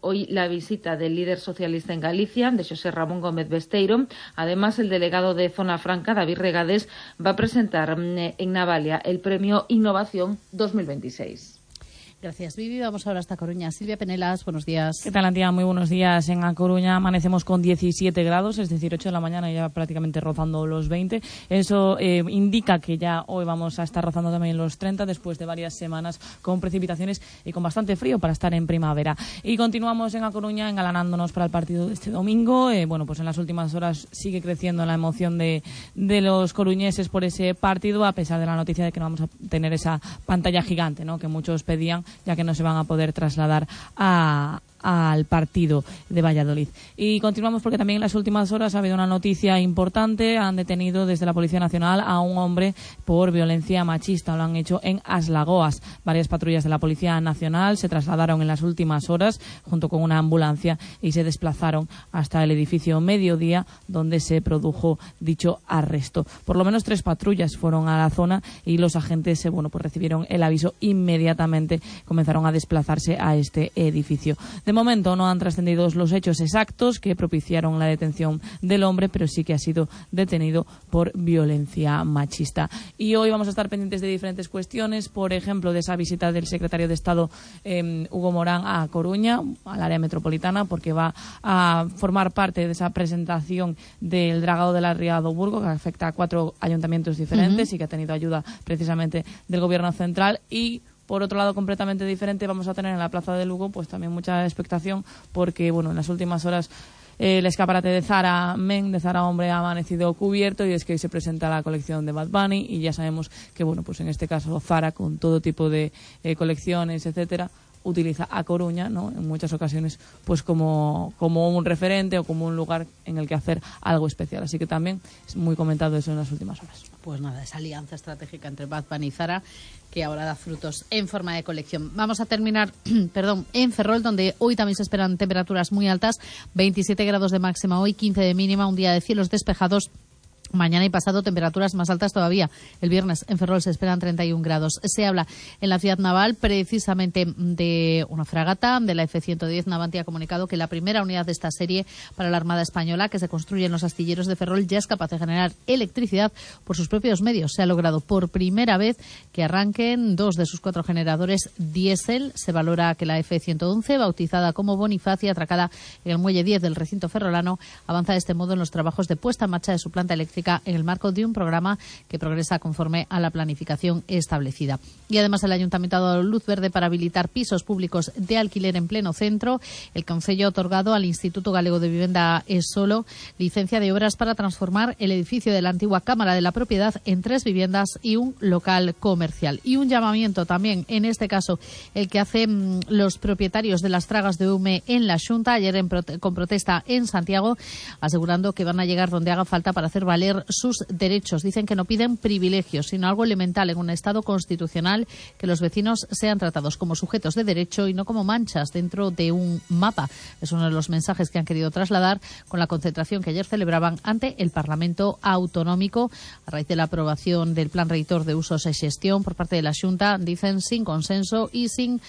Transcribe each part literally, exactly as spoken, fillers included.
hoy la visita del líder socialista en Galicia, de José Ramón Gómez Besteiro. Además, el delegado de Zona Franca, David Regades, va a presentar en Navalia el premio Innovación dos mil veintiséis. Gracias, Vivi. Vamos ahora hasta Coruña. Silvia Penelas, buenos días. ¿Qué tal, Antía? Muy buenos días. En A Coruña amanecemos con diecisiete grados, es decir, ocho de la mañana y ya prácticamente rozando los veinte. Eso eh, indica que ya hoy vamos a estar rozando también los treinta después de varias semanas con precipitaciones y con bastante frío para estar en primavera. Y continuamos en A Coruña engalanándonos para el partido de este domingo. Eh, bueno, pues en las últimas horas sigue creciendo la emoción de, de los coruñeses por ese partido, a pesar de la noticia de que no vamos a tener esa pantalla gigante, ¿no?, que muchos pedían, ya que no se van a poder trasladar a... al partido de Valladolid. Y continuamos porque también en las últimas horas ha habido una noticia importante. Han detenido desde la Policía Nacional a un hombre por violencia machista. Lo han hecho en Aslagoas. Varias patrullas de la Policía Nacional se trasladaron en las últimas horas junto con una ambulancia y se desplazaron hasta el edificio Mediodía, donde se produjo dicho arresto. Por lo menos tres patrullas fueron a la zona y los agentes bueno, pues recibieron el aviso inmediatamente. Comenzaron a desplazarse a este edificio. De momento no han trascendido los hechos exactos que propiciaron la detención del hombre, pero sí que ha sido detenido por violencia machista. Y hoy vamos a estar pendientes de diferentes cuestiones, por ejemplo, de esa visita del secretario de Estado eh, Hugo Morán a Coruña, al área metropolitana, porque va a formar parte de esa presentación del dragado de la Ría do Burgo, que afecta a cuatro ayuntamientos diferentes uh-huh. y que ha tenido ayuda precisamente del Gobierno central. Y por otro lado, completamente diferente, vamos a tener en la Plaza de Lugo pues también mucha expectación, porque bueno, en las últimas horas eh, el escaparate de Zara Men, de Zara Hombre, ha amanecido cubierto, y es que hoy se presenta la colección de Bad Bunny y ya sabemos que bueno, pues en este caso Zara, con todo tipo de eh, colecciones, etcétera, utiliza a Coruña, ¿no?, en muchas ocasiones pues como, como un referente o como un lugar en el que hacer algo especial. Así que también es muy comentado eso en las últimas horas. Pues nada, esa alianza estratégica entre Bad Bunny y Zara, que ahora da frutos en forma de colección. Vamos a terminar perdón, en Ferrol, donde hoy también se esperan temperaturas muy altas, veintisiete grados de máxima hoy, quince de mínima, un día de cielos despejados. Mañana y pasado temperaturas más altas todavía. El viernes en Ferrol se esperan treinta y un grados. Se habla en la ciudad naval precisamente de una fragata, de la F ciento diez. Navantia ha comunicado que la primera unidad de esta serie para la Armada Española, que se construye en los astilleros de Ferrol, ya es capaz de generar electricidad por sus propios medios. Se ha logrado por primera vez que arranquen dos de sus cuatro generadores diésel. Se valora que la F ciento once, bautizada como Bonifacia, atracada en el muelle diez del recinto ferrolano, avanza de este modo en los trabajos de puesta en marcha de su planta eléctrica en el marco de un programa que progresa conforme a la planificación establecida. Y además el Ayuntamiento ha dado luz verde para habilitar pisos públicos de alquiler en pleno centro. El Concello ha otorgado al Instituto Galego de Vivienda ESOLO licencia de obras para transformar el edificio de la antigua Cámara de la Propiedad en tres viviendas y un local comercial. Y un llamamiento también, en este caso, el que hacen los propietarios de las tragas de Ume en la Xunta, ayer en prote- con protesta en Santiago, asegurando que van a llegar donde haga falta para hacer valer sus derechos. Dicen que no piden privilegios, sino algo elemental en un Estado constitucional, que los vecinos sean tratados como sujetos de derecho y no como manchas dentro de un mapa. Es uno de los mensajes que han querido trasladar con la concentración que ayer celebraban ante el Parlamento Autonómico a raíz de la aprobación del Plan Reitor de Usos y Gestión por parte de la Xunta, dicen sin consenso y sin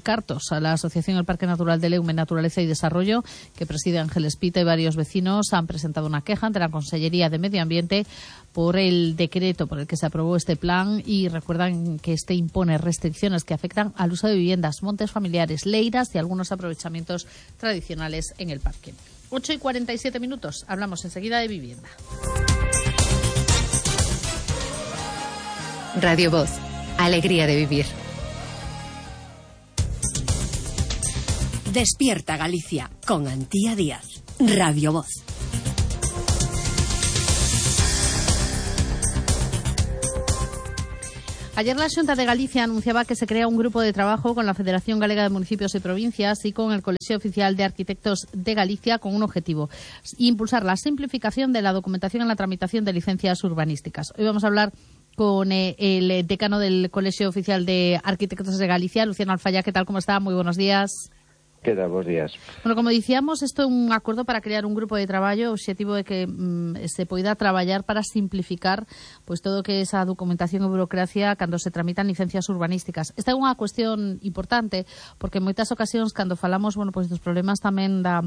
cartos. A la Asociación El Parque Natural de Leume, Naturaleza y Desarrollo, que preside Ángel Espita, y varios vecinos han presentado una queja ante la Consellería de Medio Ambiente por el decreto por el que se aprobó este plan, y recuerdan que este impone restricciones que afectan al uso de viviendas, montes familiares, leiras y algunos aprovechamientos tradicionales en el parque. ocho y cuarenta y siete minutos. Hablamos enseguida de vivienda. Radio Voz. Alegría de vivir. Despierta Galicia con Antía Díaz. Radio Voz. Ayer la Xunta de Galicia anunciaba que se crea un grupo de trabajo con la Federación Galega de Municipios y Provincias y con el Colegio Oficial de Arquitectos de Galicia, con un objetivo: impulsar la simplificación de la documentación en la tramitación de licencias urbanísticas. Hoy vamos a hablar con eh, el decano del Colegio Oficial de Arquitectos de Galicia, Luciano Alfaya. ¿Qué tal? ¿Cómo está? Muy buenos días. Queda, bons días. Bueno, como dicíamos, isto é un acordo para crear un grupo de traballo. O obxectivo é que mm, se poida traballar para simplificar pois todo o que é esa documentación e burocracia cando se tramitan licencias urbanísticas. Esta é unha cuestión importante porque en moitas ocasións cando falamos, bueno, pois dos problemas tamén da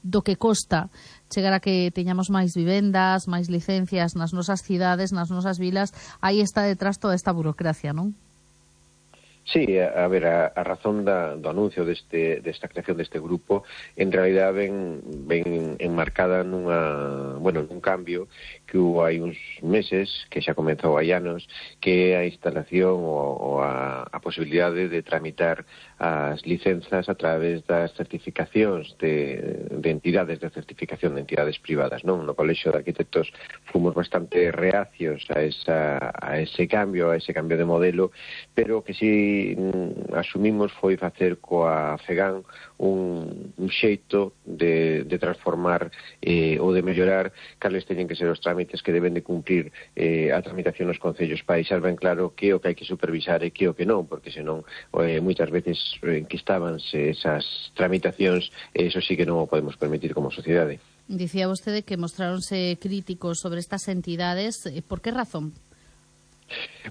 do que costa chegar a que teñamos máis vivendas, máis licencias nas nosas cidades, nas nosas vilas, aí está detrás toda esta burocracia, non? Sí, a, a ver, a, a razón da, do anuncio deste, desta creación deste grupo en realidad ven, ven enmarcada nunha, bueno, nun cambio que hubo hai uns meses, que xa comezou hai anos, que é a instalación ou, ou a, a posibilidade de tramitar as licenzas a través das certificacións de, de entidades de certificación de entidades privadas, non? No Colexio de Arquitectos fomos bastante reacios a, esa, a ese cambio, a ese cambio de modelo, pero que si asumimos foi facer coa FEGAN un, un xeito de, de transformar eh, ou de mellorar cales teñen que ser os trámites que deben de cumprir eh, a tramitación nos concellos para deixar ben claro que o que hai que supervisar e que o que non, porque senón eh, moitas veces enquistábanse esas tramitacións e eso sí que non o podemos permitir como sociedade. Dicía vostede que mostráronse críticos sobre estas entidades. Por que razón?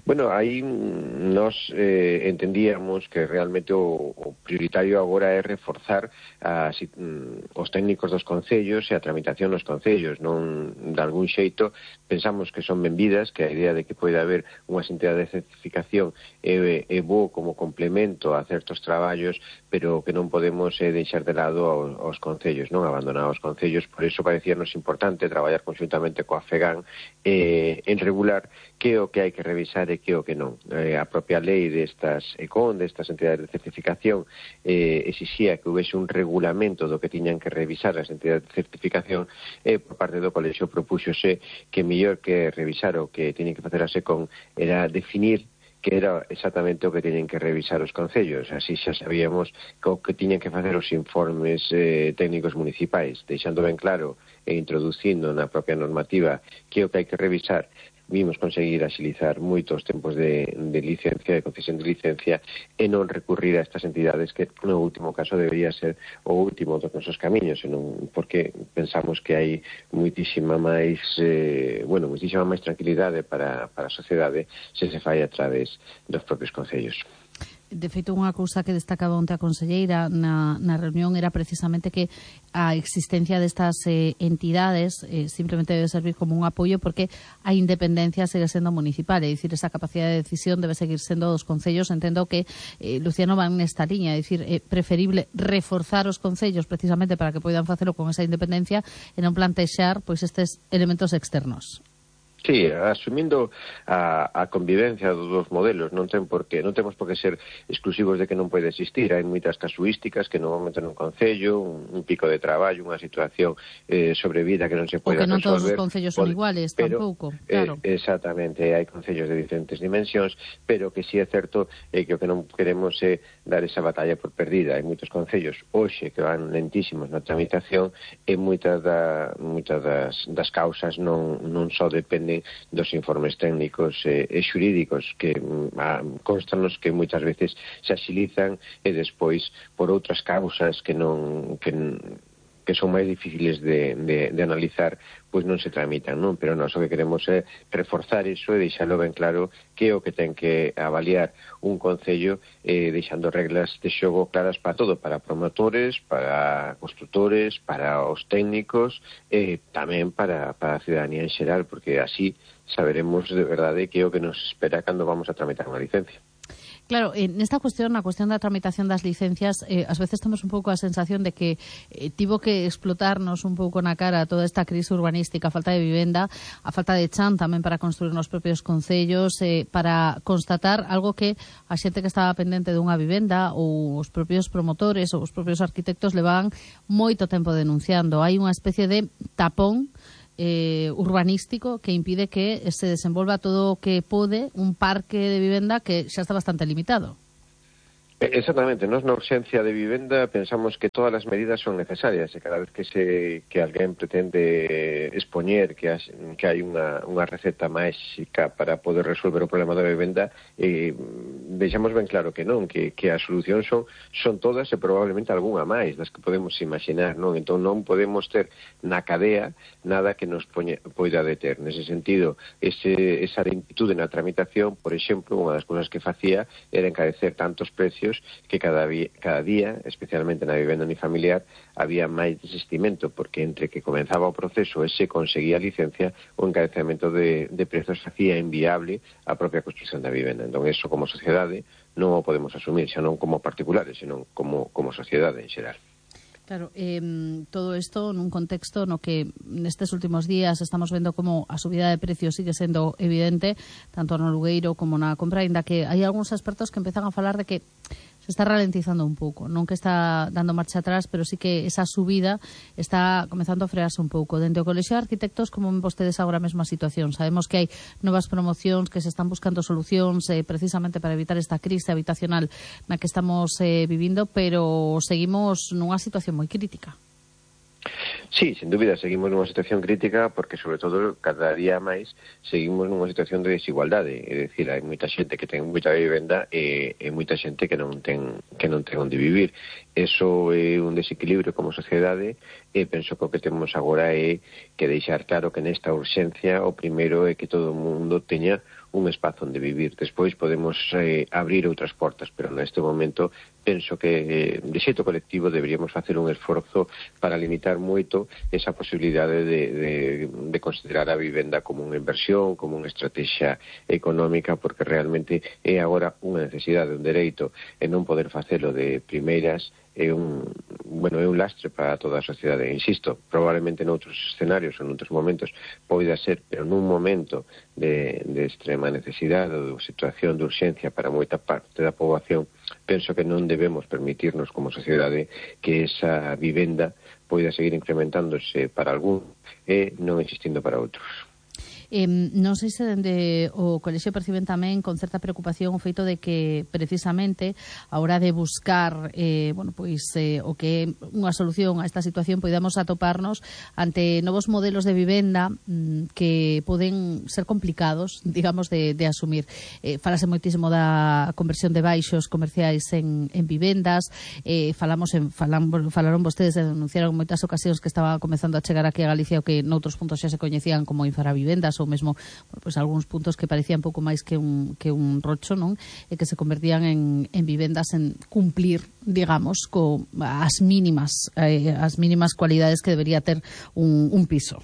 Bueno, aí nos eh, entendíamos que realmente o, o prioritario agora é reforzar as, mm, os técnicos dos concellos e a tramitación nos concellos. Non, de algún xeito, pensamos que son benvidas, que a idea de que pode haber unha entidade de certificación é, é bo como complemento a certos traballos, pero que non podemos eh, deixar de lado aos, aos concellos, non abandonar os concellos. Por iso parecíanos importante traballar conjuntamente coa FEGAN eh, en regular que o que hai que revisar e que o que non. Eh, a propia lei destas E C O N, destas entidades de certificación, eh, exixía que houvese un regulamento do que tiñan que revisar as entidades de certificación e por parte do Colexio propúxose que mellor que revisar o que tiñen que facer a S E C O N era definir que era exactamente o que teñen que revisar os concellos. Así xa sabíamos que o que tiñen que facer os informes eh, técnicos municipais, deixando ben claro e introducindo na propia normativa que o que hai que revisar. Vimos conseguir axilizar moitos tempos de, de licencia, de concesión de licencia e non recurrir a estas entidades que no último caso debería ser o último dos nosos camiños, senón porque pensamos que hai moitísima máis eh, bueno, moitísima máis tranquilidade para, para a sociedade se se fai a través dos propios concellos. De feito, unha cousa que destacaba onte a conselleira na, na reunión era precisamente que a existencia destas eh, entidades eh, simplemente debe servir como un apoio porque a independencia segue sendo municipal, é dicir, esa capacidade de decisión debe seguir sendo dos concellos. Entendo que eh, Luciano van nesta liña, é dicir, é preferible reforzar os concellos precisamente para que poidan facelo con esa independencia e non plantexar pois estes elementos externos. Sí, asumindo a, a convivencia dos dos modelos, non ten por que, non temos por que ser exclusivos de que non pode existir. Hai moitas casuísticas que normalmente nun concello, un, un pico de traballo, unha situación eh, sobrevida que non se pode resolver. O que non todos os concellos son iguales, pero, tampouco, claro. Eh, exactamente, hai concellos de diferentes dimensións, pero que sí é certo eh, que o que non queremos é dar esa batalla por perdida. Hai moitos concellos hoxe que van lentísimos na tramitación e moitas, da, moitas das, das causas non, non só dependen dos informes técnicos e, e xurídicos que a, constanos que moitas veces se axilizan e despois por outras causas que non que, que son máis difíciles de, de, de analizar, pois non se tramitan, non? Pero nós o que queremos é reforzar iso e deixalo ben claro que o que ten que avaliar un concello eh, deixando reglas de xogo claras para todo, para promotores, para constructores, para os técnicos e tamén para, para a ciudadanía en xeral, porque así saberemos de verdade que é o que nos espera cando vamos a tramitar unha licencia. Claro, en esta cuestión, na cuestión da tramitación das licencias, eh, ás veces temos un pouco a sensación de que eh, tivo que explotarnos un pouco na cara toda esta crise urbanística, a falta de vivenda, a falta de chan tamén para construir nos propios concellos, eh, para constatar algo que a xente que estaba pendente dunha vivenda ou os propios promotores ou os propios arquitectos levaban moito tempo denunciando. Hai unha especie de tapón Eh, urbanístico que impide que se desenvolva todo o que pode un parque de vivenda que xa está bastante limitado. Exactamente, nós na urxencia de vivenda pensamos que todas as medidas son necesarias e cada vez que se que alguén pretende expoñer que, has, que hai unha, unha receta máxica para poder resolver o problema da vivenda, eh, deixamos ben claro que non, que, que as solucións son, son todas e probablemente algunha máis das que podemos imaginar, non? Entón non podemos ter na cadea nada que nos poña, poida deter. Nese sentido, ese, esa lentitude na tramitación, por exemplo, unha das cousas que facía era encarecer tantos precios que cada, vi, cada día, especialmente na vivenda unifamiliar, había máis desistimento, porque entre que comenzaba o proceso e se conseguía a licencia, o encarecemento de, de prezos facía inviable a propia construcción da vivenda. Entón, eso como sociedade non o podemos asumir, xa non como particulares, senón como, como sociedade en xeral. Claro, eh, todo isto nun contexto no que nestes últimos días estamos vendo como a subida de precios sigue sendo evidente, tanto no alugueiro como na compra, ainda que hai algúns expertos que empezan a falar de que se está ralentizando un pouco, non que está dando marcha atrás, pero sí que esa subida está comezando a frearse un pouco. Dentro do Colexio de Arquitectos, como ven vostedes agora a mesma situación? Sabemos que hai novas promocións, que se están buscando solucións eh, precisamente para evitar esta crise habitacional na que estamos eh, vivindo, pero seguimos nunha situación moi crítica. Sí, sin dúbida, seguimos nunha situación crítica porque, sobre todo, cada día máis seguimos nunha situación de desigualdade. É dicir, hai moita xente que ten moita vivenda e, e moita xente que non ten que non ten onde vivir. Eso é un desequilibrio como sociedade e penso que o que temos agora é que deixar claro que nesta urxencia o primeiro é que todo o mundo teña un espazo onde vivir. Despois podemos eh, abrir outras portas, pero neste momento penso que eh, de xeito colectivo deberíamos facer un esforzo para limitar moito esa posibilidade de, de, de considerar a vivenda como unha inversión, como unha estrategia económica, porque realmente é agora unha necesidade, un dereito, e non poder facelo de primeiras é un, bueno, é un lastre para toda a sociedade. Insisto, probablemente noutros escenarios ou noutros momentos poida ser, pero nun momento de, de extrema necesidade ou de situación de urxencia para moita parte da poboación, penso que non debemos permitirnos como sociedade que esa vivenda poida seguir incrementándose para algún e non existindo para outros. Eh, non sei se dende o Colexio perciben tamén con certa preocupación o feito de que precisamente a hora de buscar eh, bueno, pois, eh, o que é unha solución a esta situación poidamos atoparnos ante novos modelos de vivenda mm, que poden ser complicados, digamos, de, de asumir. Eh, falase moitísimo da conversión de baixos comerciais en, en vivendas, eh, falamos en, falam, falaron vostedes e denunciaron en moitas ocasións que estaba comezando a chegar aquí a Galicia o que noutros puntos xa se coñecían como infravivendas ou mesmo, bueno, pues algúns puntos que parecían pouco máis que un, que un rocho, non? E que se convertían en, en vivendas en cumplir, digamos, co as mínimas eh, as mínimas cualidades que debería ter un, un piso.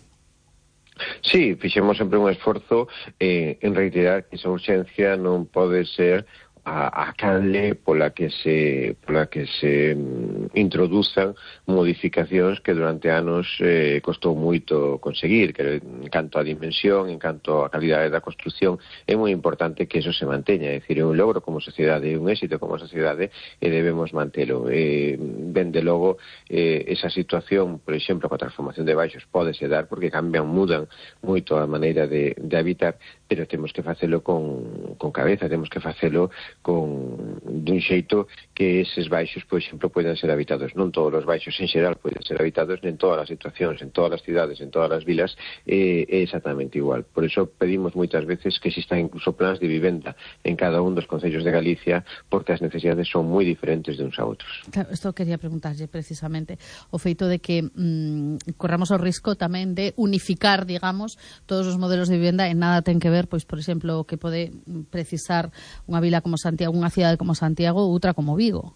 Sí, fixemos sempre un esforzo eh, en reiterar que esa urxencia non pode ser a, a canle pola que se pola que se mm, introduzan modificacións que durante anos eh, costou moito conseguir, que en canto a dimensión, en canto a calidade da construción, é moi importante que eso se manteña, é dicir, é un logro como sociedade, é un éxito como sociedade e debemos mantelo. Eh, ben de logo, eh, esa situación, por exemplo, coa transformación de baixos pódese dar porque cambian, mudan moito a maneira de, de habitar, pero temos que facelo con, con cabeza, temos que facelo con dun xeito que eses baixos, por exemplo, poden ser habitados. Non todos os baixos en xeral poden ser habitados, en todas as situacións, en todas as cidades, en todas as vilas, é, é exactamente igual. Por iso pedimos moitas veces que existan incluso plans de vivenda en cada un dos concellos de Galicia, porque as necesidades son moi diferentes de uns a outros. Claro, isto quería preguntarlle precisamente o feito de que mmm, corramos o risco tamén de unificar, digamos, todos os modelos de vivenda en nada ten que ver, pois, por exemplo, que pode precisar unha vila como Santiago, unha cidade como Santiago ou outra como Vigo.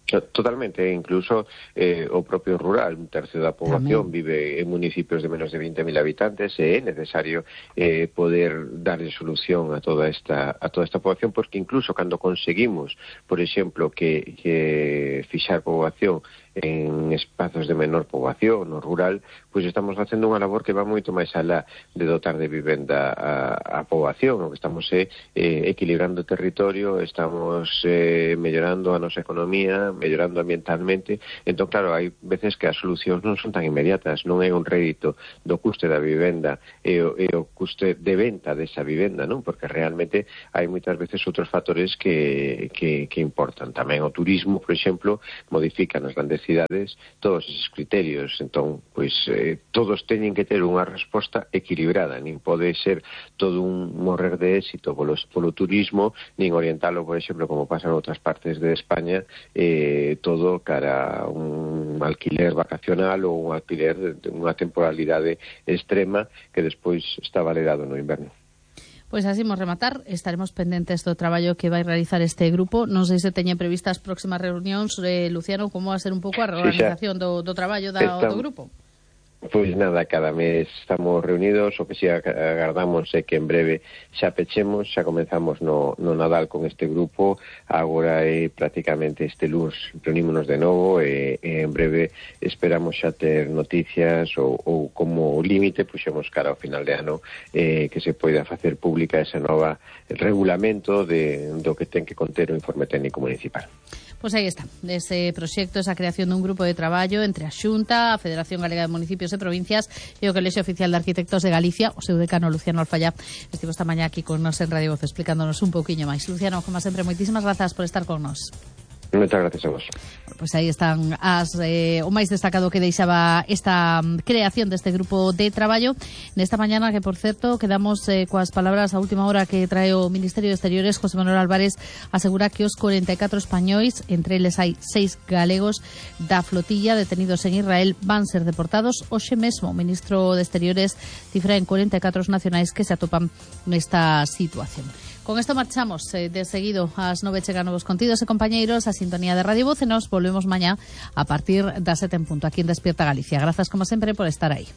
Totalmente, incluso eh, o propio rural, un tercio da poboación Tamén. vive en municipios de menos de vinte mil habitantes e é necesario eh, poder darle solución a toda esta a toda esta poboación, porque incluso cando conseguimos, por exemplo, que, que fixar poboación en espazos de menor poboación no rural, pois estamos facendo unha labor que va moito máis alá de dotar de vivenda a, a poboación. O que estamos é eh, equilibrando o territorio, estamos eh, mellorando a nosa economía, mellorando ambientalmente. Entón, claro, hai veces que as solucións non son tan inmediatas, non é un rédito do custe da vivenda e o, e o custe de venta desa vivenda, non? Porque realmente hai moitas veces outros factores que, que, que importan. Tamén o turismo, por exemplo, exemplo, modifican nas grandes cidades todos esos criterios. Entón, pois, eh, todos teñen que ter unha resposta equilibrada, nin pode ser todo un morrer de éxito polo, polo turismo, nin orientalo, por exemplo, como pasa en outras partes de España, eh, todo cara a un alquiler vacacional ou un alquiler de unha temporalidade extrema que despois está valerado no inverno. Pois así imos rematar, estaremos pendentes do traballo que vai realizar este grupo. Non sei se teñen previstas próximas reunións, eh, Luciano, como va a ser un pouco a reorganización sí, do, do traballo da, Está... do grupo? Pois nada, cada mes estamos reunidos, o que si agardamos é que en breve xa pechemos, xa comenzamos no, no Nadal con este grupo, agora é prácticamente este luns reunímonos de novo e, e en breve esperamos xa ter noticias ou, ou como límite puxemos cara ao final de ano eh, que se poida facer pública ese nova regulamento de, do que ten que conter o informe técnico municipal. Pois aí está, ese proxecto, esa creación dun grupo de traballo entre a Xunta, a Federación Galega de Municipios e Provincias e o Colexio Oficial de Arquitectos de Galicia, o seu decano Luciano Alfaya. Estivo esta mañá aquí con nos en Radio Voz explicándonos un pouquiño máis. Luciano, como sempre, moitísimas grazas por estar con nos. Moitas gracias a vos. Pois aí están as, eh, o máis destacado que deixaba esta creación deste grupo de traballo nesta mañana, que por certo quedamos eh, coas palabras a última hora que trae o Ministerio de Exteriores. José Manuel Álvarez asegura que os corenta e catro españois, entre eles hai seis galegos da flotilla detenidos en Israel, van ser deportados hoxe mesmo. O ministro de Exteriores cifra en corenta e catro os nacionais que se atopan nesta situación. Con esto marchamos eh, de seguido ás nove chegan novos contidos e compañeiros a sintonía de Radio Voz e nos volvemos mañá a partir das sete en punto aquí en Despierta Galicia. Grazas como sempre por estar aí.